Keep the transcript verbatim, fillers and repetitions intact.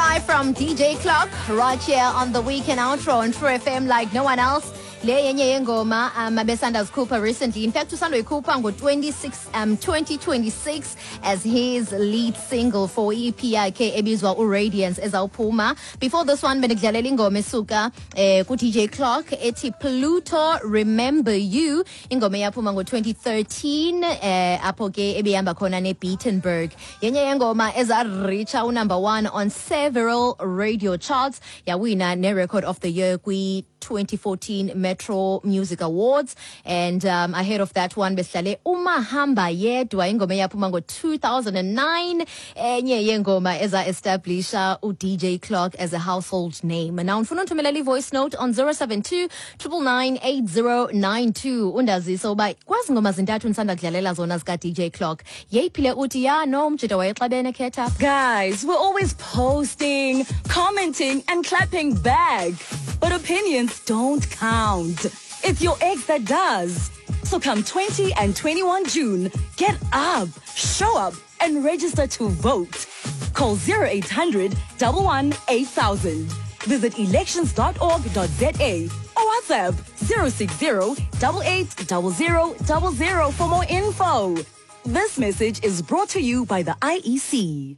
Live from D J Clock right here on the Weekend Outro on True F M like no one else. Le yenye yengoma um abesanda zikhupha recently. In fact, usandoyikhupha ngo-twenty-six um twenty twenty-six as his lead single for E P yakhe ebizwa uRadiance ezawuphuma. Before this one, bendikudlalela ingoma esuka eh ku-D J Clock ethi Pluto Remember You, ingoma eyaphuma ngo-twenty thirteen, eh apho ke ebehamba khona neBeatenberg. Yenye yengoma eza-reacha unumber one on several radio charts, yawina ne-record of the year kwi twenty fourteen Metro Music Awards. And um, ahead of that one, besidlale uMahamba Yedwa, ingoma eyaphuma ngo-two thousand nine, enye yengoma eza-establisha u-D J Clock as a household name. Now ndifuna unthumelela i-voice note on zero seven two nine nine nine eight zero nine two, undazise uba kwezi ngoma zintathu ndisanda kudlalela zona zika-D J Clock, yeyiphi le uthi ya no umjita wayexabene khetha. Guys, we're always posting, commenting, and clapping back. But opinions don't count. It's your ex that does. So come twenty and twenty-one June, get up, show up, and register to vote. Call zero eight hundred one one eight thousand. Visit elections dot org dot za or WhatsApp zero six zero eight eight zero zero zero zero for more info. This message is brought to you by the I E C.